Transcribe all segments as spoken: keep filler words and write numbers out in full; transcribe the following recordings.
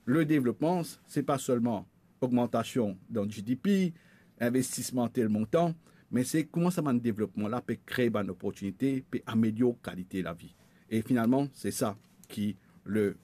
Le devlopman, se pa selman ogmantasion dan G D P, investisman tel montan, me se kouma sa bann devlopman la pe kree bann loportinite, pe amelior kalite lavi. E finalman, se sa ki le,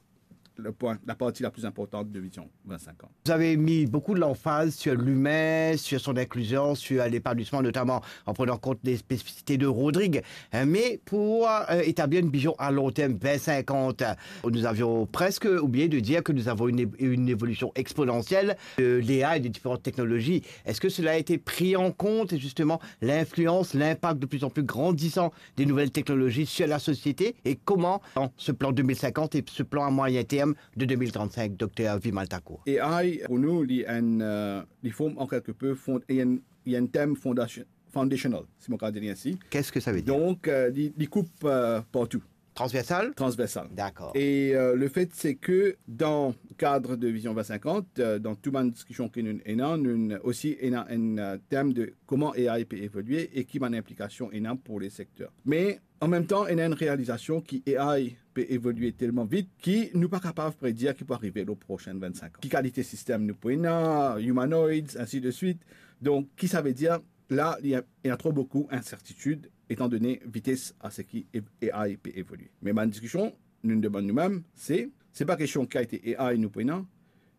le pwin, la parti la pli inportan de Vision vingt cinquante. Vous avez mis beaucoup de l'emphase sur l'humain, sur son inclusion, sur l'épanouissement, notamment en prenant compte des spécificités de Rodrigues. Hein, mais pour, euh, établir une vision à long terme, vingt cinquante, nous avions presque oublié de dire que nous avons une é-, une évolution exponentielle de l'A I et des différentes technologies. Est-ce que cela a été pris en compte, justement, l'influence, l'impact de plus en plus grandissant des nouvelles technologies sur la société et comment, dans ce plan deux mille cinquante et ce plan à moyen terme de deux mille trente-cinq, docteur Vimal Thakur? A I, pou nou, li enn, euh, li form an kelke pe fond-, li enn, li enn tem fondation-, foundational, si mo kapav dir li ainsi. Qu'est-ce que ça veut dire? Donk, euh, li, li koup, euh, partou. Transversal? Transversal. D'accord. E, euh, le fait, se ke dan kad de Vision vingt cinquante, euh, dan tou bann diskision ki nou ena, nou osi ena enn, euh, tem de kouma A I pe evolie e ki bann inplikasion ena pou le sekter. Me an mem tan, ena enn realizasion ki A I pe evolie telman vit ki nou pa kapav predir ki pou arive lor prosin vingt cinq an. Ki kalite sistem nou pou ena, humanoids, ainsi de suite. Donk, ki sa ve dir? La, li ena tro boukou insertitid, etan done vites a seki ev-, A I pe evolie. Me bann diskision, nou demann noumem, se, se pa kestion ki kalite A I nou pou ena,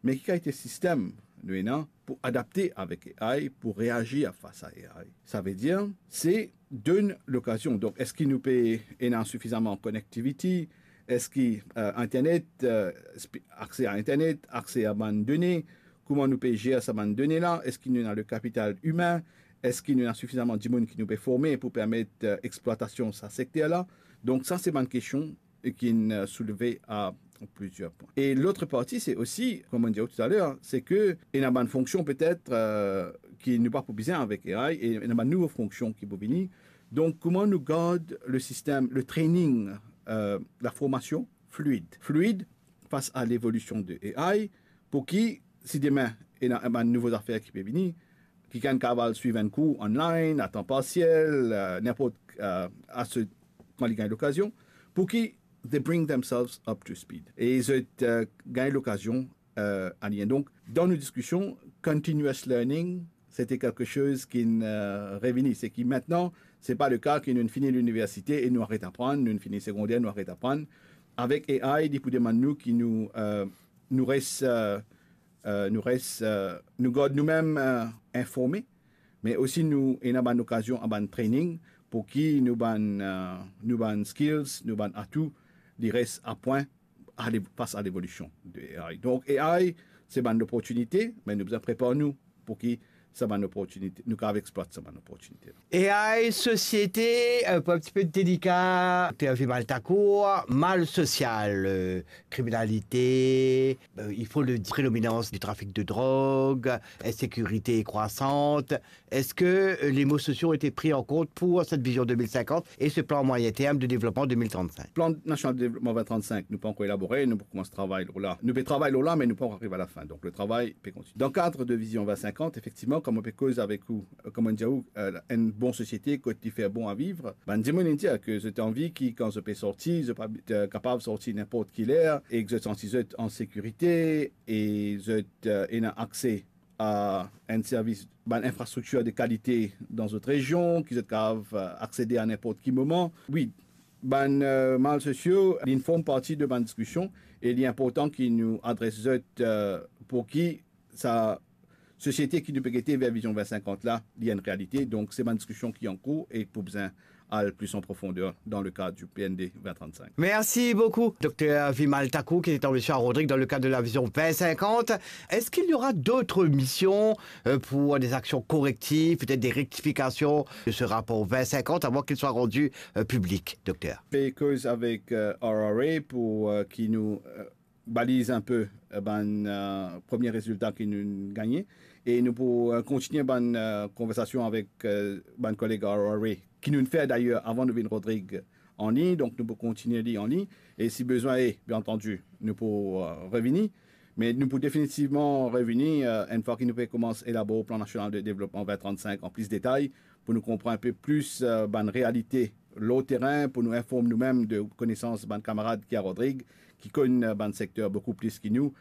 me ki kalite sistem nou ena pou adapte avek A I, pou reazir fas a A I. Sa ve dir, se donn lokazion. Donk, eski nou pe ena sifizaman connectivity? Eski, euh, internet, euh, spi-, akse a internet, akse a bann done, kouma nou pe zer sa bann done la? Eski nou ena le kapital imin? Eski nou ena sifizaman dimoun ki nou pe forme pou permet, euh, explwatasion sa sekter la? Donk, sa se bann kestion ki inn, euh, soulve a plizier pwin. E lot parti, se osi, kouma mo dir toutalor, se ke ena bann fonksion petet, euh, ki nou pa pou bizin avek A I, e ena bann nouvo fonksion ki pou vini. Donk, kouma nou gard le sistem, le training, euh, laformasion fluid? Fluid fas a levolision de A I, pou ki, si demin, ena bann nouvo zafer ki pe vini, kikenn kapav al swiv enn kour online, a tan parsiel, euh, ninport, euh, a se, kan li gagn lokazion, pou ki they bring themselves up to speed. E zot, euh, gagn lokazion, euh, align. Donk, dan nou diskision, continuous learning, se te kelke soz ki, euh, revini. Se ki mintnan, se pa le ka ki nou fini liniversite e nou aret aprann, nou fini segonder, nou aret aprann. Avek A I, li pou demann nou ki nou, euh, nou res, euh, euh, nou res, euh, nou gard noumem, euh, informe, me osi nou ena bann okazion a bann training pou ki nou bann, euh, nou bann skills, nou bann atou, li res a pwin a lev-, fas a levolision de A I. Donk, A I, se bann loportinite, me nou bizin prepar nou pou ki sa bann loportinite, nou kapav explwat sa bann loportinite. A I, société, euh, un petit peu délicat, docteur Vimal Thakur, mal social, euh, criminalité, euh, il faut le dire, prédominance du trafic de drogue, insécurité croissante. Est-ce que, euh, les maux sociaux ont été pris en compte pour cette vision deux mille cinquante et ce plan moyen terme de développement deux mille trente-cinq? Plan nasional de devlopman vingt trant-sink, nou pa ankor elabore, nou pou koumans travay lor la. Nou pe travay lor la, me nou pa ankor ariv a lafin. Donk, le travay pe kontinie. Dan kad de Vision vingt cinquante, efektivman, kouma mo pe koz avek ou, euh, kouma mo dir ou, euh, enn bon sosiete, kot li fer bon a viv, bann dimoun inn dir ke zot anvi ki, kan zot pe sorti, zot pa, euh, kapav sorti ninport ki ler, e ki zot santi zot an sekirite, e zot, euh, ena akse a enn servis, bann infrastriktir de kalite dan zot rezion, ki zot kapav, euh, aksede a ninport ki moman. Wi, bann, euh, mal sosio, li form parti de bann diskision, e li inportan ki nou adres zot, euh, pou ki sa sosiete ki nou pe gete ver Vision vingt cinquante la, li enn realite. Donk, se bann diskision ki ankour e pou bizin al plis an profondeer dan le kad du P N D vingt trente-cinq. Merci beaucoup, docteur Vimal Thakur, qui était en mission à Rodrigues dans le cadre de la vision vingt cinquante. Est-ce qu'il y aura d'autres missions, euh, pour des actions correctives, peut-être des rectifications de ce rapport vingt cinquante avant qu'il soit rendu, euh, public, docteur? Pe koz avek, euh, R R A pou, euh, ki nou, euh, baliz inpe, euh, bann, euh, premie rezilta ki nou gagne. E nou pou, euh, kontinie bann, euh, konversasion avek, euh, bann koleg R R A, ki nou fer dayer avan nou vinn Rodrig an lign, donk nou pou kontinie li an lign. E si bizin, e, bien antandi, nou pou, euh, revini. Me nou pou definitivman revini, euh, enn fwa ki nou pe koumans elabor plan nasional de devlopman vingt trant-sink an plis detay, pou nou konpran inpe plis, euh, bann realite lor terin, pou nou inform noumem de konesans bann kamarad ki a Rodrig, ki konn, euh, bann sekter boukou plis ki nou,